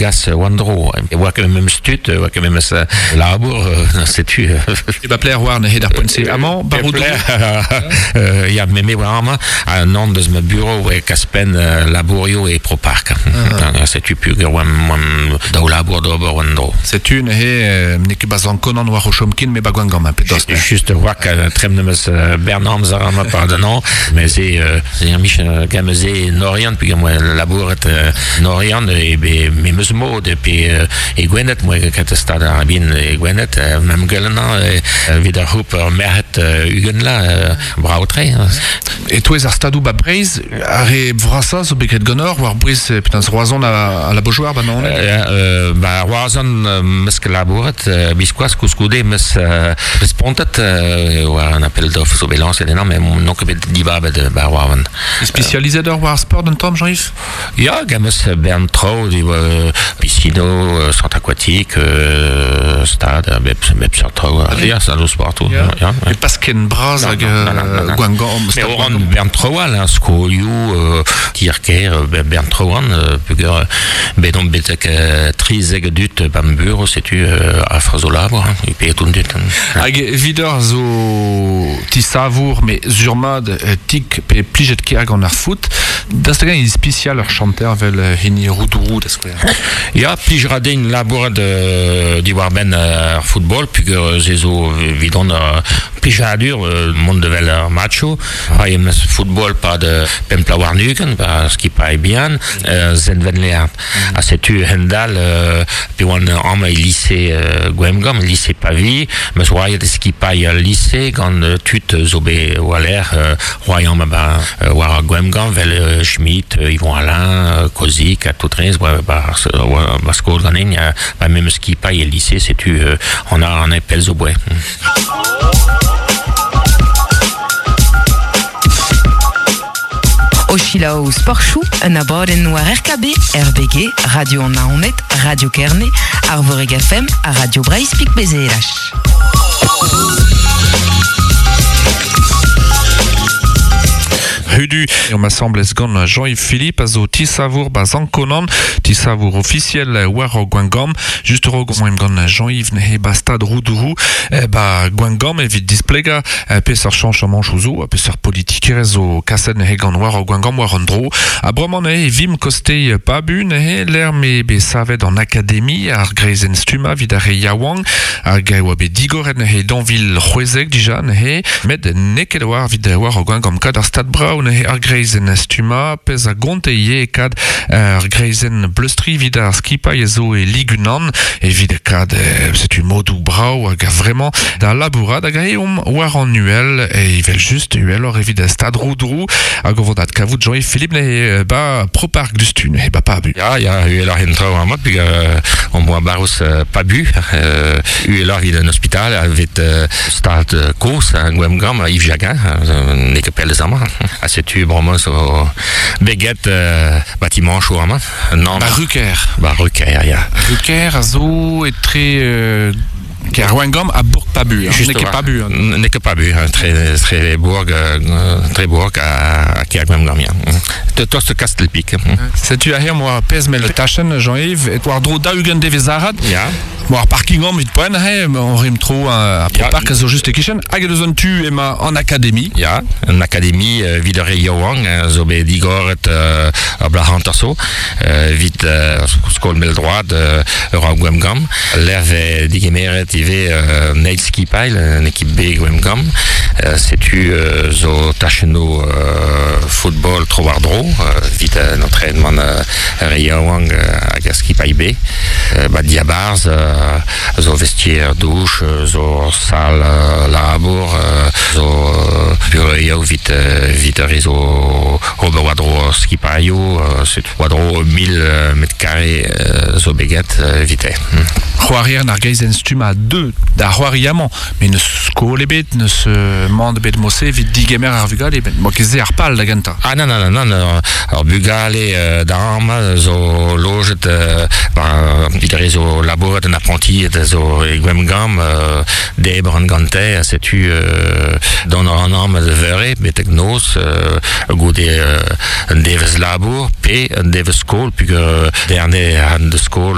Gas war-dro. E oa ket memes tud, e oa ket memes labour, setu. E ba pler war neuze d'ar poent-se. Amañ, baroù Ya, me me oa amañ, ha non deus ma bureau e kaspenn labourioù e Propark. Setu peogwir oamp daou labour d'ober war-dro. Setu neuze n'eo ket bazañ Konan war o chom ken, me ba Gwengamp, pe dost. Just oa trem meus bern amzer amañ pardon, mais se se ur mich gant se en Oriant, peogwir moa labouret En Oriant e be memes mod pe e Gwened moa ket stad ar bin e Gwened mem gwellañ evit ar c'houp ur merc'hed 20 la brav-tre. E-touez ar stadoù ba Breizh, ar re vrasañ zo bet graet ganeoc'h war-bouez penaos Roazhon ha la Beaujoire ba Naoned? Ba Roazhon 'meus ket labouret biskoazh koulskoude 'meus respontet war un appel d'offres zo bet lañset ennañ met n'on ket bet dibabet ba Roazhon. Spécialisé war ar sport un tamm Jean-Yves? Ya, gant meus bern traoù diwar piscino, centre aquatique, stad, bep, bep seurt traoù. Ya, ça zo sportoù. Ya. Ya, E pas ken bras hag Gwengamp. Mais oran bern traoù all, hein, skolioù, tier-kêr, bern traoù all, peogwir bet on betek 13 dud b'am bureau, setu afr zo labour, hein, e pe tout dud. Hag evidoc'h zo tisavour, mais sur-mat tik pe plijet ker gant ar foot, Daoust hag-eñ eo ispisial ur chanter evel hini Roudourou da skouer? Ya, plij ra din labourat diwar-benn ar football peogwir se zo evidon ur plijadur mont da wel ar matchoù. C'hoari em eus football 'pad pemp bloaz warn-ugent ba skipailh bihan Sent-Venleard. Ha setu hend-all pe oan amañ e lise Gwengamp, lise Pavie, 'm eus c'hoariet e skipailh al lise gant tud zo bet war-lerc'h c'hoariamp ba war ar Gwengamp 'vel Schmitt, Yvon Alain, Kozik ha tout rez ba ba skol ganin, ba memes skipailh e lise, setu on a an pell zo boe. O selaou Sportchoù, un abadenn war RKB, RBG, Radio an Naoned, Radio Kerne, Arvorig FM ha Radio Breizh Pik Bezelach. Hudu eo asambles gant Jean-Yves Philippe a zo tisavour ba Zankonan, tisavour ofisiel war Gwengamp. Just rog oamp gant Jean-Yves neuze ba stad Roudourou ba Gwengamp evit displegañ peseurt chañchamanchoù zo ha peseurt politikerezh zo kaset neuze gant war Gwengamp war an dro. Ha bremañ neuze e vimp koste Pabu neuze lec'h m'eo bet savet an akademi ar greizenn stummañ evit ar re yaouank hag e oa bet digoret neuze dañvil c'hwezek dija neuze met n'eo ket war evit war Gwengamp kad ar stad brav neuze ar greizenn stummañ pezh a gonte ivez kad ar greizenn bleustriñ evit ar skipailh a zo e Lig unan evit kad setu modoù brav hag a-vremañ da labourat hag aze omp war an uhel evel-just uheloc'h evit stad Roudrou hag o vont adkavout Jean-Yves Philippe neuze ba Propark dustu neuze ba Pabu. Ya, ya, uheloc'h en traoù amañ peogwir on boa barrouz Pabu uheloc'h evit an ospital evit stad kozh Gwengamp Yves Jaguin n'eo ket pell eus amañ ha setu bremañ zo beget batimañchoù amañ Nann. Ba Ruker. Ba Ruker, ya. Ruker a zo etre Kêr Gwengamp ha bourg Pabu. Hein. N'eo ket Pabu. Hein. N'eo ket Pabu, hein. tre, tre bourg, tre bourg ha kêr Gwengamp, ya. Tost Kastelpik. Setu aze moa pezh mell tachenn, Jean-Yves, et war-dro 40 devezh arat. Ya. Bon, ar parking omp evit poent, he, on rim tro ar park a zo just e-kichen. Hag eus an tu emañ an akademi. Ya, an akademi evit ar re yaouank zo bet digoret ur bloaz hanter zo evit skol mell-droad ur ar Gwemgamp. Lec'h vez digemeret ivez an eil skipailh, an ekip B Gwemgamp. Setu zo tachennoù football tro-war-dro evit an entraînement ar re yaouank hag ar skipailh B. Ba diabarzh zo vestier douche, zo sal labour, zo bureioù evit evit ar re zo ober war-dro skipailhoù, setu war-dro 1000 mètres carrés zo bet get evite. C'hoarier ar geizenn stumm a deu da c'hoari amañ, met n'eus skol ebet, n'eus mand ebet mose evit digemer ar vugale, met mo ket se ar pal da gentañ. Ah nann, nann, nann, ar bugale da amañ zo lojet, ba, evit ar re zo labourat en aprantied zo e Gwemgamp, debr an gante, ha setu dont a ran amañ da veure betek noz, goude un devezh labour pe un devezh skol, pugur derne an da skol.